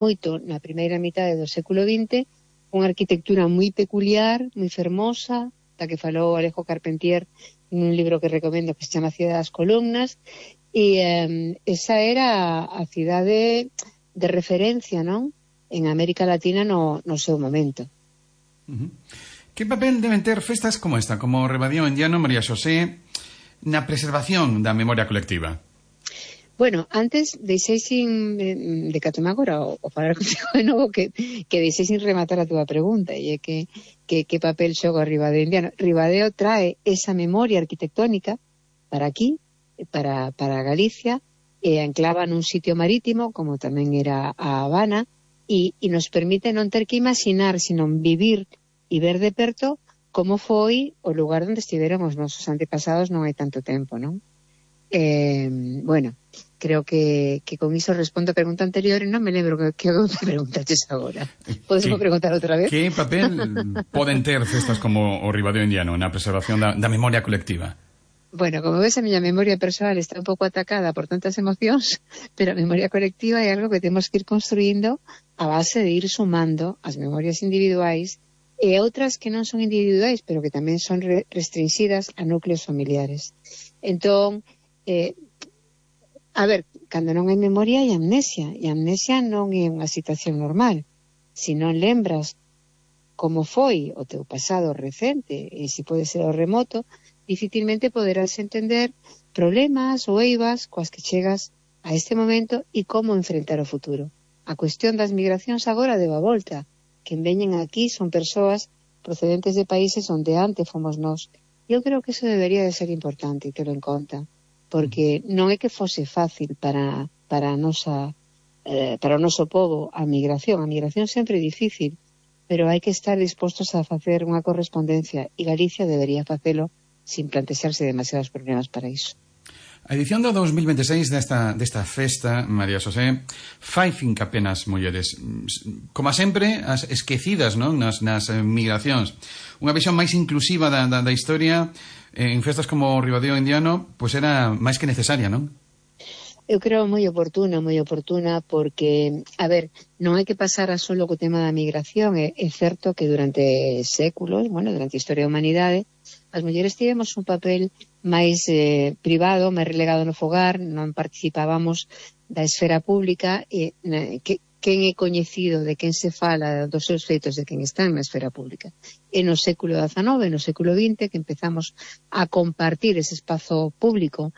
moito na primeira mitade do século XX, unha arquitectura moi peculiar, moi fermosa, da que falou Alejo Carpentier nun libro que recomendo que se chama Cidade das Columnas, e esa era a cidade de referencia, non? En América Latina no seu momento. Que papel deben ter festas como esta, como Ribadeo Indiano, María Xosé, na preservación da memoria colectiva? Bueno, antes deixei sin de catome agora o falar contigo de novo que deixei sin rematar a túa pregunta, e é que papel xoga o Ribadeo Indiano. Ribadeo trae esa memoria arquitectónica para aquí, para Galicia, e anclava nun sitio marítimo, como tamén era a Habana, e nos permite non ter que imaginar, sino vivir e ver de perto como foi o lugar onde estiveron os nosos antepasados non hai tanto tempo, non? Bueno, creo que con iso respondo a pregunta anterior e non me lembro que me preguntaches agora. Podes preguntar outra vez? Que papel poden ter festas como o Ribadeo Indiano na preservación da memoria colectiva? Bueno, como ves, a miña memoria persoal está un pouco atacada por tantas emocións, pero a memoria colectiva é algo que temos que ir construindo a base de ir sumando as memorias individuais e outras que non son individuais, pero que tamén son restringidas a núcleos familiares. Entón, a ver, cando non hai memoria hai amnesia, e a amnesia non é unha situación normal. Se non lembras como foi o teu pasado recente, e se pode ser o remoto, dificilmente poderás entender problemas ou eivas coas que chegas a este momento e como enfrentar o futuro. A cuestión das migracións agora deu a volta. Quen veñen aquí son persoas procedentes de países onde antes fomos nós. Eu creo que eso debería de ser importante e ter en conta, porque non é que fose fácil para o noso povo a migración. A migración sempre é difícil, pero hai que estar dispostos a facer unha correspondencia, e Galicia debería facelo sin plantexarse demasiados problemas para iso. A edición do 2026 desta festa, María Xosé, fai finca apenas mulleres, como sempre, as esquecidas, non? nas migracións. Unha visión máis inclusiva da historia en festas como o Ribadeo Indiano, pois era máis que necesaria, non? Eu creo moi oportuna, porque, a ver, non hai que pasar a solo co tema da migración. É certo que durante séculos, durante a historia da humanidade, as mulleres tivemos un papel máis privado, máis relegado no fogar, non participábamos da esfera pública, e quen é coñecido, de quen se fala dos seus feitos, de quen está na esfera pública. E no século XIX, no século XX, que empezamos a compartir ese espazo público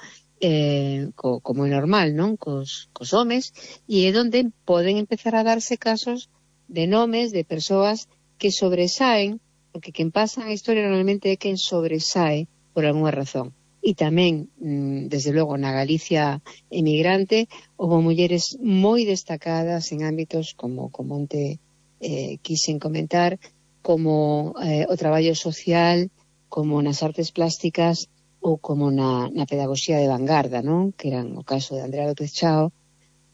como é normal, non? Cos homes, e é onde poden empezar a darse casos de nomes de persoas que sobresaen, porque quen pasa a historia normalmente é quen sobresae por algunha razón. E tamén, desde logo, na Galicia emigrante, houve mulleres moi destacadas en ámbitos como onte quixen comentar, como o traballo social, como nas artes plásticas, ou como na pedagogía de vanguarda, non? Que eran o caso de Andrea López Chao,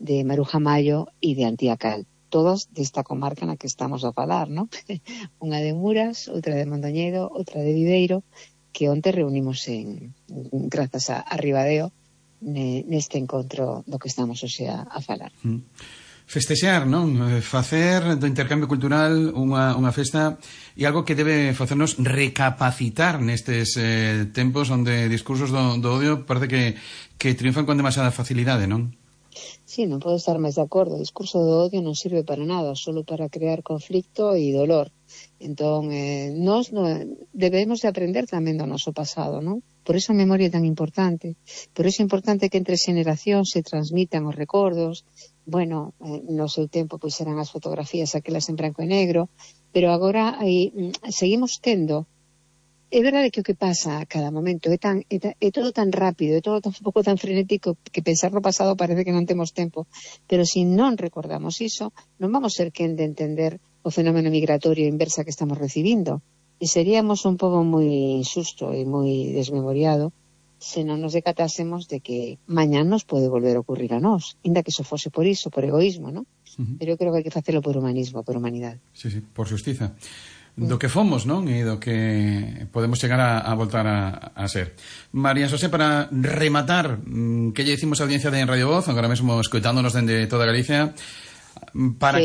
de Maruja Mayo e de Antía Cal. Todas desta comarca na que estamos a falar, non? Unha de Muras, outra de Mondoñedo, outra de Viveiro, que onte reunimos grazas a Ribadeo neste encontro do que estamos hoxe a falar. Festexar, non? Facer do intercambio cultural unha festa e algo que debe facernos recapacitar nestes tempos onde discursos do odio parece que triunfan con demasiada facilidade, non? Sí, non podo estar máis de acordo. O discurso do odio non sirve para nada, solo para crear conflicto e dolor. Entón, nós debemos de aprender tamén do noso pasado, non? Por iso a memoria é tan importante. Por iso é importante que entre xeneracións se transmitan os recordos. Bueno, no seu tempo pois eran as fotografías aquelas en branco e negro, pero agora seguimos tendo. É verdade que o que pasa a cada momento é todo tan rápido, é todo un pouco tan frenético que pensar no pasado parece que non temos tempo, pero se non recordamos iso, non vamos ser quen de entender o fenómeno migratorio inversa que estamos recibindo, e seríamos un pobo moi injusto e moi desmemoriado se non nos decatásemos de que mañán nos pode volver a ocurrir a nós, ainda que iso fose por iso, por egoísmo, non? Pero eu creo que hai que facelo por humanismo, por humanidade. Sí, por xustiza. Do que fomos, non? E do que podemos chegar a voltar a ser. María Xosé, para rematar, que lle dicimos a audiencia de En Radio Voz, agora mesmo escoitándonos dende toda Galicia, para